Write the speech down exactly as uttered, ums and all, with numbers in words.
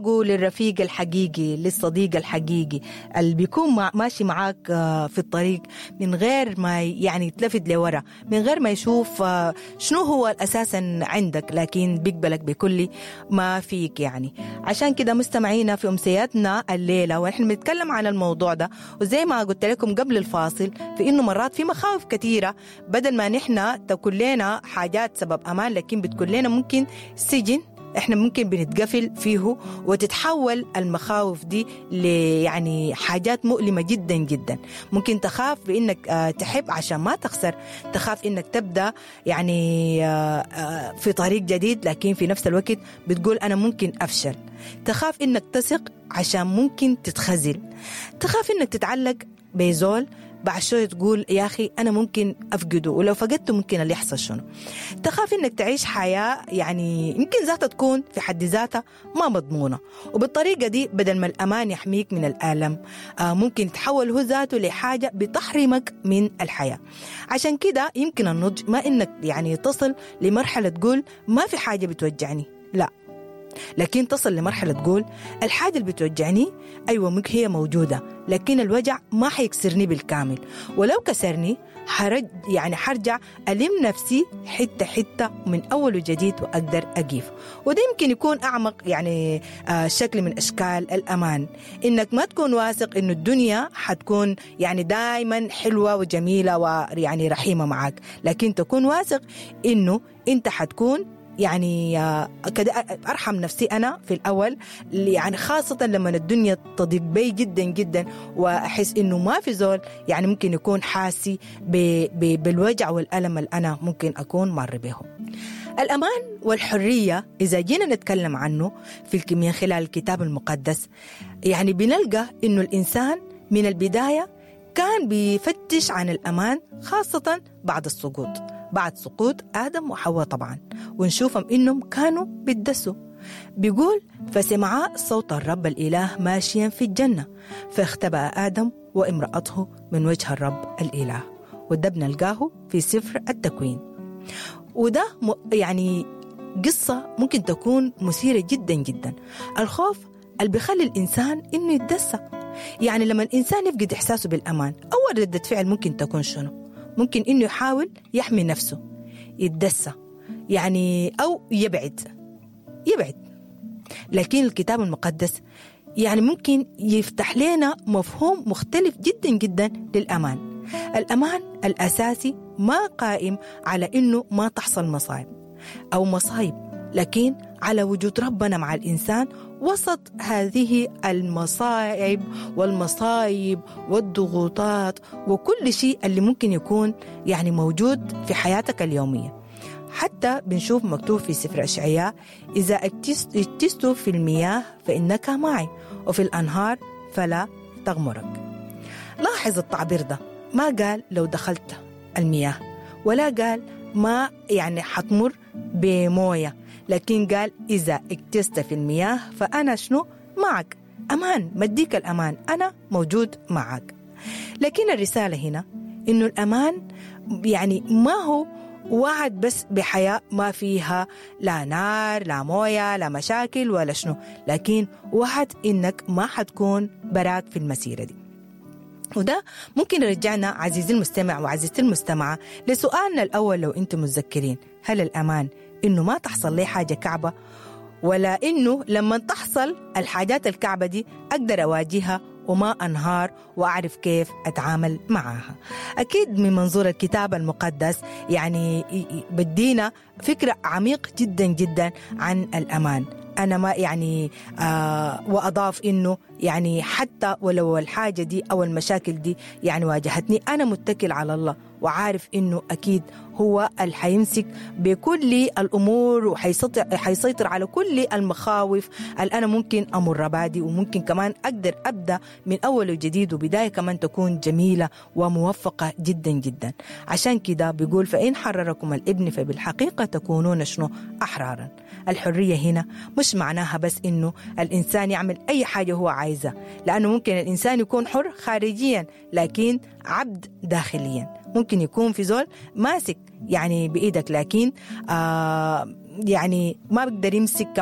للرفيق الحقيقي، للصديق الحقيقي اللي بيكون مع ماشي معاك آه، في الطريق من غير ما يعني يتلفت لورا، من غير ما يشوف آه، شنو هو اساسا عندك، لكن بيقبلك بكل ما فيك. يعني عشان كده مستمعينا في امسياتنا الليلة ونحن بنتكلم عن الموضوع ده، وزي ما قلت لكم قبل الفاصل في انه مرات في مخاوف كثيرة بدل ما نحن تكون لنا حاجات سبب امان، لكن بتكون لنا ممكن سجن احنا ممكن بنتقفل فيه، وتتحول المخاوف دي ل يعني حاجات مؤلمة جدا جدا. ممكن تخاف بانك آه، تحب عشان ما تخسر، تخاف انك تبدا يعني آه، آه، في طريق جديد، لكن في نفس الوقت بتقول انا ممكن افشل. تخاف انك تثق عشان ممكن تتخزل، تخاف انك تتعلق بزول بعد شوية تقول يا أخي أنا ممكن أفقده، ولو فقدته ممكن اللي يحصل شنو. تخاف إنك تعيش حياة يعني يمكن ذاتها تكون في حد ذاتها ما مضمونة، وبالطريقة دي بدل ما الأمان يحميك من الآلم آه ممكن تحول هو ذاته لحاجة بتحرمك من الحياة. عشان كده يمكن النضج ما إنك يعني تصل لمرحلة تقول ما في حاجة بتوجعني، لا، لكن تصل لمرحلة تقول الحاجة اللي بتوجعني أيوة ممكن هي موجودة، لكن الوجع ما حيكسرني بالكامل، ولو كسرني حرج يعني حرجع ألم نفسي حتة حتة من أول وجديد وأقدر أقيف. وده يمكن يكون أعمق يعني آه شكل من أشكال الأمان، إنك ما تكون واثق إنه الدنيا حتكون يعني دايما حلوة وجميلة ويعني رحيمة معك، لكن تكون واثق إنه أنت حتكون يعني كده أرحم نفسي أنا في الأول، يعني خاصة لما الدنيا تضيق بي جدا جدا وأحس إنه ما في زول يعني ممكن يكون حاسي بالوجع والألم اللي أنا ممكن أكون مر به. الأمان والحرية إذا جينا نتكلم عنه في من خلال الكتاب المقدس، يعني بنلقى إنه الإنسان من البداية كان بيفتش عن الأمان، خاصة بعد السقوط، بعد سقوط آدم وحواء طبعا، ونشوفهم إنهم كانوا بيتدسوا. بيقول فسمعا صوت الرب الإله ماشيا في الجنة فاختبأ آدم وامرأته من وجه الرب الإله، وده بنلقاه في سفر التكوين. وده يعني قصة ممكن تكون مثيرة جدا جدا. الخوف اللي بيخلي الإنسان إنه يتدسى، يعني لما الإنسان يفقد إحساسه بالأمان أول ردة فعل ممكن تكون شنو؟ ممكن إنه يحاول يحمي نفسه، يتدسى يعني أو يبعد يبعد. لكن الكتاب المقدس يعني ممكن يفتح لنا مفهوم مختلف جدا جدا للأمان. الأمان الأساسي ما قائم على إنه ما تحصل مصايب أو مصايب، لكن على وجود ربنا مع الإنسان وسط هذه المصاعب والمصايب والضغوطات وكل شيء اللي ممكن يكون يعني موجود في حياتك اليومية. حتى بنشوف مكتوب في سفر أشعياء إذا اجتزت في المياه فإنك معي وفي الأنهار فلا تغمرك. لاحظ التعبير ده، ما قال لو دخلت المياه ولا قال ما يعني حتمر بموية، لكن قال إذا اجتزت في المياه فأنا شنو معك، أمان، مديك الأمان، أنا موجود معك. لكن الرسالة هنا إنه الأمان يعني ما هو وعد بس بحياة ما فيها لا نار لا موية لا مشاكل ولا شنو، لكن وعد إنك ما حتكون براك في المسيرة دي. وده ممكن يرجعنا عزيزي المستمع وعزيزتي المستمعة لسؤالنا الأول لو أنتم متذكرين، هل الأمان إنه ما تحصل لي حاجة كعبة، ولا إنه لما تحصل الحاجات الكعبة دي أقدر أواجهها وما أنهار وأعرف كيف أتعامل معها؟ أكيد من منظور الكتاب المقدس يعني بدينا فكرة عميق جدا جدا عن الأمان. أنا ما يعني آه وأضاف إنه يعني حتى ولو الحاجة دي أو المشاكل دي يعني واجهتني، أنا متكل على الله وعارف إنه أكيد هو اللي حيمسك بكل الأمور وحيسيطر حيسيطر على كل المخاوف اللي أنا ممكن أمر بادي، وممكن كمان أقدر أبدأ من أول وجديد وبداية كمان تكون جميلة وموفقة جدا جدا. عشان كده بيقول فإن حرركم الابن فبالحقيقة تكونون شنو؟ أحرارا. الحرية هنا مش معناها بس إنه الإنسان يعمل أي حاجة هو عايزة، لأنه ممكن الإنسان يكون حر خارجيا لكن عبد داخليا. ممكن يكون في زول ماسك يعني بإيدك لكن آه يعني ما بقدر يمسك كمان